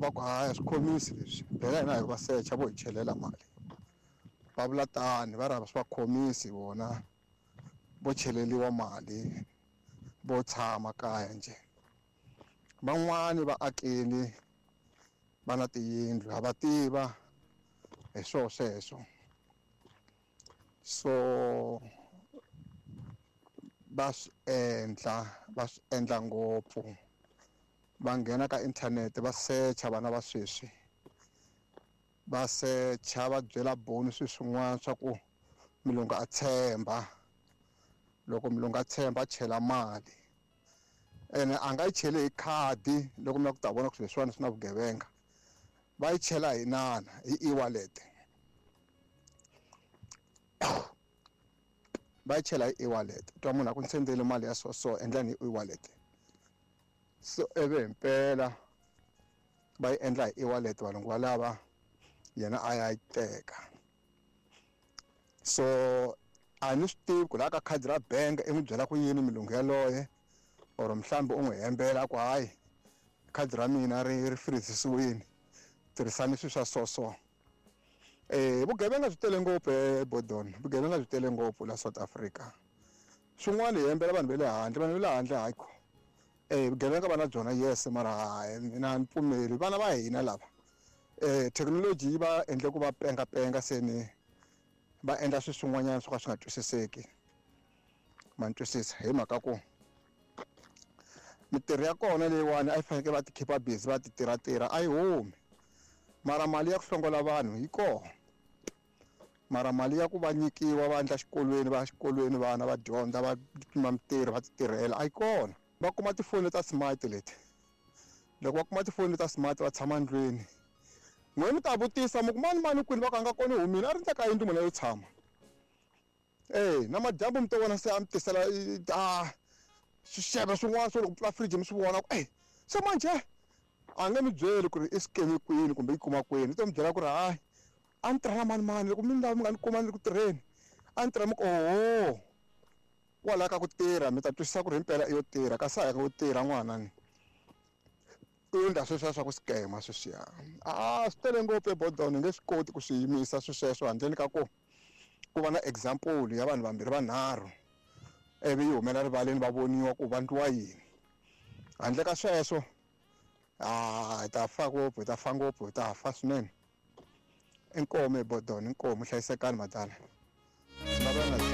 va ku hayi a swi khomisi leswi phela hina hi va secha vo hi chelela mali va vula tani va ri a swi va khomisi vona vo cheleliwa mali vo tshama kaya njhe van'wani va akile va na tiyindlu ha va tiva hi swoho sweswo so va swi endla va swi endla ngopfu va nghena ka inthanete va secha vana va sweswi va secha va byela boni swilo swin'wana swa ku mulungu a tshemba loko mulungu a tshemba a chela mali ene a nga yi cheli hi khadi loko mi lava ku ta vona ku swilo leswiwani swi na vugevenga va yi chela hi nana hi e-wallet va yi chela hi e-wallet twa munhu a ku ni sendele mali ya so so endlani hi e-wallet so ivi himpela va yi endla hi e-wallet valungu valava yena a ya yi teka so a ni swi tivi ku laha ka khadi ra bank i n'wi byela ku yini milungu yaloye or mhlawumbe u n'wi hembela ku hayi khadi ra mina ri ri freezisiwini tirhisani swilo swa so so vugevenga byi tele ngopfu ebodon vugevenga byi tele ngopfu la South Africa swin'wana hi hembela vanhu va le handle vanhu va le handle hayi ko vugevenga va na byona yes mara hayi mina ni pfumeli vana va hina lava thekinoloji yi va endle ku va penga penga se ni va endla swilo swin'wanyana swo ka swi nga twisiseki ma ni twisisa hi mhaka ku mitirho ya kona leyiwani a yi fanekele va ti keep busy va ti tirhatirha a yi humi mara mali ya ku hlongola vanhu yi kona mara mali ya ku va nyikiwa va endla xikolweni va ya xikolweni vana va dyondza va kuma mitirho va ti tirhela a yi kona va kuma tifoni ta smart leti loko va kuma tifoni ta smart va tshama ndlwini n'we mi ta vutisa mi ku mani mani kwini va ku a nga kona humile a ri ndle ka yindlu munhu yo tshama na madyambu mi to vona se a mi tisela a swixeve swin'wana swo loko pfula fridge mi swi vona ku se manjhe a nge mi byeli ku ri i scam kwini kumbe yi kuma kwini i to mi byela ku ri hayi a ni tirha na mani mani loko mi ni lava mi nga ni kuma ni ri ku tirheni a ni tirha mi ku oho kwalaya ka ku tirha mi ta twisisa ku ri himpela i yo tirha kasi a hi ka ku tirha n'wana ni u endla sweswiya swa ku scam sweswiya a swi tele ngopfu ebodon hi nge swi koti ku swi yimisa swi sweswo handleni ka ku ku va na example ya vanhu vambirhi vanharhu ivi yi humela rivaleni va voniwa ku va ndliwa yini handle ka sweswo a hi ta fa ngopfu hi ta fa ngopfu hi ta fa swinene inkomu ebodon inkomu hlayisekani madala.